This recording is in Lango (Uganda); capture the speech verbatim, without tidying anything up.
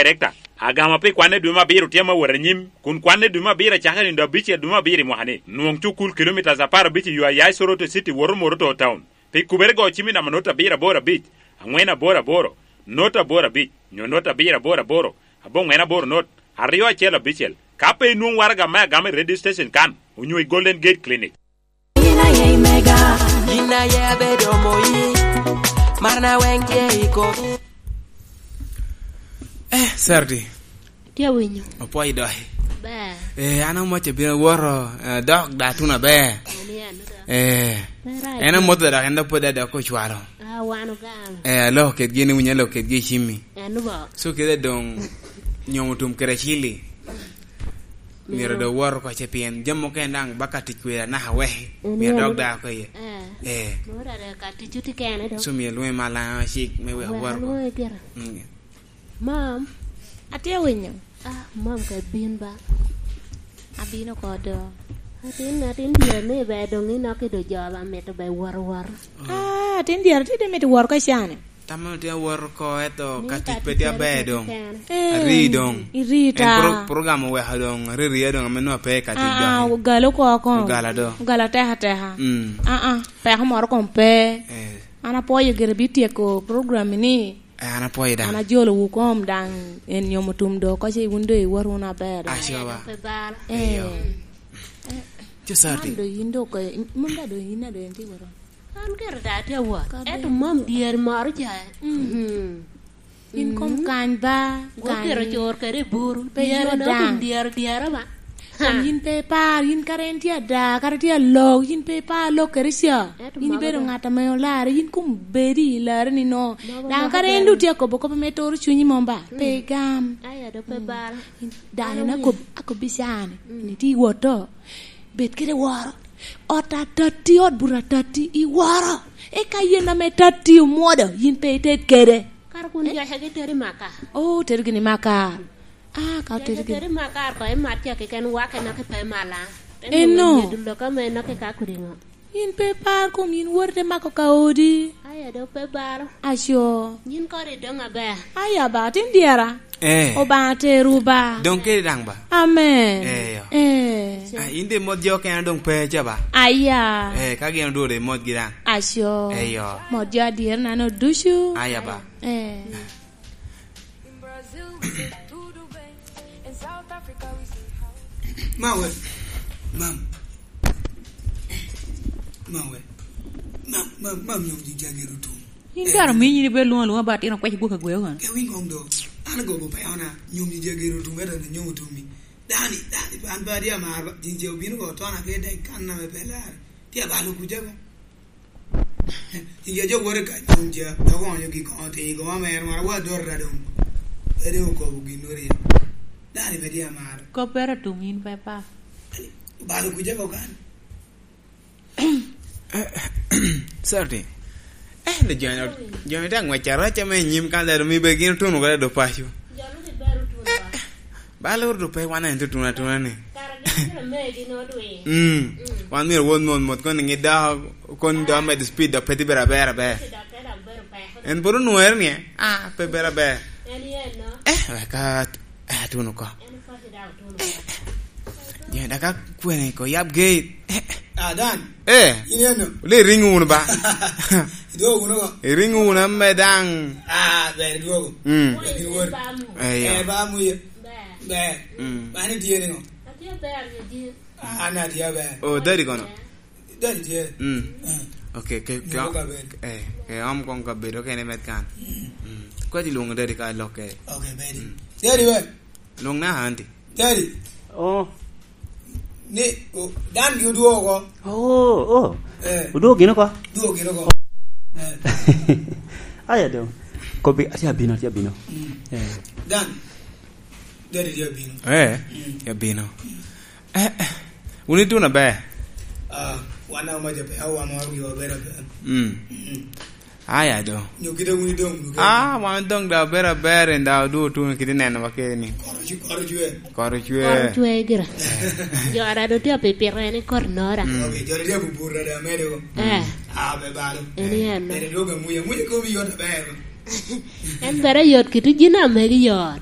Director, agama pi kwanne dwe me abiro tye ame wot anyim, kun kwanne dwe me abiro acakere nino abicel dwe me abiro i mwaka-ni. Nwoŋ cukul kilomitas apar abic i yo a ya i Soroti City woto Moroto Town. Pi kubere go cim i namba not abiro aboro abic, aŋwen aboro aboro, not aboro abic, nyo not abiro aboro aboro, aboŋwen aboro not, aryo acel abicel. Ka pe inwoŋ waraga me agama i radio station kan, onyo i Golden Gate Clinic. In aye mega. In aye abedo moyi. Marna weng tye i komi. Eh, Serdi. Tye winyo. Opwoyo doki. Ber. Eh, an amoc abino woto, eh, dok da tuno aber. Ani anu da. Eh, ber aye. En amoc dok, en dok pwod adok ocwalo. Ah, wan ogamo. Eh, aloko kedgi, ni winyo aloko kedgi i cimmi. Anu bo. So kede doŋ nyomo tum kede acili. Myero dok wot oko ce, pien jami mukene daŋ ba ka tic kweda naka weki. Mm, myero dok daa oko iye. Eh. Eh. Moro ada ka tic oti kene do. So myero lwoŋi mal, ah, cik me wek wot oko. Wek alwoŋi gira. Mm. Mam. Atye winyo. Ah, mam ka bin ba. Abino oko do. Atin, atin dyere ni be doŋ inok i do jo ba mito be wot, wot. Ah, atin dyere ti de mito wot ka cane. Tam meno tye awot oko, eto ka tic pe tye aber doŋ. Eh, ari doŋ. Iri ta. En pro-, program oweko doŋ, ariria doŋ, ame nwa pe ka tic doŋ. Ah, ah, ogalo oko oko. Ogalo do. Ogalo ateka ateka. Mm. Ah, ah, peko moro kom pe. Eh. An apwoyo gire bi tyeko program ni. Eh, an apwoyo daŋ. An ajolo wu kom daŋ, en nyomo tum do, ka ce wun do iwot wunu aber do. Aco ba. Pe bal. Eh. Eyo. Eh. Ci Sati. Man do yin do ko, mom da do yin a do en ti woro. An kara da atye awot. Ento mom dyeri moro ca. Mm. Mm. In kom kany ba, kany. Gwokero cor kede i buru. Pe dyere no daŋ. Kom dyere, dyere ba. Kom yin pe ipar, yin kara en tye ada, kara tye alok, yin pe ipar lok kede ca. Yin ibedo ŋat ame olarre, yin kom bedi i larre ni no. Daŋ kara en doŋ tye akobo kop ame turo cunyi mom ba. Mm. Pe igam. Aya do pe bala. Yin dano na kob-, akobbi can, mm, ni ti iwoto. Bed kede woro. Ot atatti, ot buto atatti, iworo. Eka yen ame tatti omwodo, yin pe ited kede. Kara kun joca gi teri maka. Oh, teri gini maka. Ah, ka teri gini. Teri maka, ko imat ca keken wake nok ipe mala. Eno. Dulo ka me nok ika kudiŋo. Yin pe par kom yin wori te mako ka odi. Aya do pe baro. Aco. Yin kodi dong aber. Aya ba, tin dyera. Eh. Obaŋa teru ba. Doŋ kede daŋ ba. Amen. Eyo. Eh. Ah, in de mot jo kena doŋ pe ca ba. Aya. Eh, ka gin odworo de mot gi daŋ. Aco. Eyo. Mot jo adyera nano ducu. Aya ba. Eh. Mawe. Mam. Mawe. Mam, mam, mam, yom di jagero tum. In kara omiyo in ibedo lwoŋo alwoŋa ba atino kwec gwok agweo kono. Ke winy koŋ do. An agobo pe ona, nyom ji jagero tum, ento ni nyom otummi. Dani, dani, an pe atye amar ba, jin je obino ko tona ke dek kan na me pe lar. Tye abalo kuca ko. Jin je jo wore ka nyom ja, dok onyo gi koŋo ti, koŋo mer mara wa dor ra dong. Pe de okobo gin ori. Dani pe tye amar. Koppere otum in pe pa. Balo kuca ko kan. Sorry. Eh, le joni, joni te ang'wec arac ame i nyim kan lero mi be gin otuno kede do paco. Eh, ba lor do pe wan en tutuno atuna ni. Mm. Wan myero won mon mot kon ngi da, kon da med speed da pe ti bera bera ber. En buru nwer ni, ah, pe bera ber. Eh, ka, eh, tuno ko. Eh, eh. Joni da ka kwene ko yab gate. Eh, eh. Ah, Dan. Eh. In eno. Le ring wunu ba. Idwogo wunu ko? Iring wunu ame daŋ. Ah, ber idwogo. Mm. Ber in wor. Eh, ya. Eh, ba muye. Ber. Mm. Mani tye ni ŋo? Atye ber, ni jin. Ah, an atye ber. Oh, daddy kono? Daddy tye. Mm. Eh. Okay, ke, ke, Nyako ka ber. Eh, ke om kong ka bedo kene met kan. Mm. Mm. Kwati luongo daddy ka lokke. Okay, daddy. Mm. Daddy ber. Luong na, aunty. Daddy. Oh. Ni, o, Dan gi odwogo oko. Oh, oh. Eh. Odwogo gin oko? Dwogo gin oko. Eh. Aya dong. Kobi, atye abino, atye abino. Mm. Eh. Dan. Daddy tye abino. Eh, mm, tye abino. Eh, eh. Wun ituno aber? Ah, wan aoma jo pe, awa ma wi obedo pe. Mm. Mm. Aya do. Nyo kite wun idong, wun idong. Ah, wan dong da aber aber, en da odu otuno kite neno wa kede ni. Koro cwe, koro cwe. Koro cwe. Koro cwe gira. Jo ara do tye pipito en i kor nora. Mm. Okay, jo ara tye pupuro da medo. Eh. Ah, be balo. En en no. Medo dwogo amuya, amuya komi yot aber. En bere yot kit jin a megi yot.